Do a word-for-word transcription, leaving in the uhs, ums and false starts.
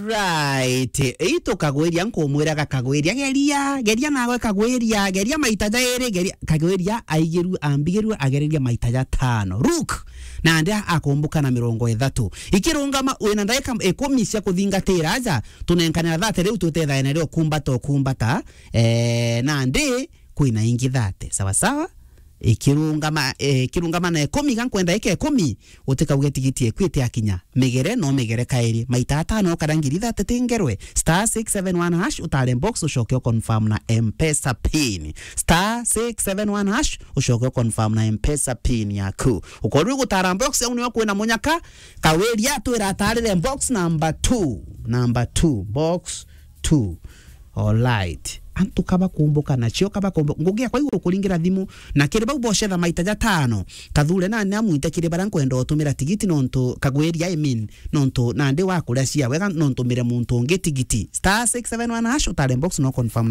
Right. Itu Kagwiria nkumwira ga Kagwiria, geria, geria nawe Kagwiria, geria maita jairi, geria. Kagwiria aigirue, ambigirue agereria maita jatano. Ruk, nandi akumbuka na mirongo ithatu. Ikirungama, wina ndagika ikumi cia kuthingatira aja, tunenkanira thate riu twite thaene rio kumbata ukumbata. Eh, nandi kwina ingi thate. Sawa sawa? Ikirungama, eh, ikirungama na ikumi, ga nkwenda ike ikumi, utikauge tigiti eku itiakinya. Migere no migere kairi. Maita atano kana ngiri thate tingerwe. Star six seven one hash, utare box, ucoke uconfirm na M-Pesa pin. Star six seven one hash, ucoke uconfirm na M-Pesa pin yaku. Ukorwo gutara box, au nio kwina munyaka, Kagwiria twira atarire box number two. Number two, box two. Alright. Antu kaba kumbuka nacio, kaba kumbuka. Ngugi yakwa iguru kuringira thimu, na kiri bau bocetha maita jatano, Kathure nani amwite kiri baria nkwenda utumira tigiti nontu Kagwiria, I mean, nontu nandi wakuria cia wega, nontumire muntu ungi tigiti. Star six seven one hash, utare box no confirm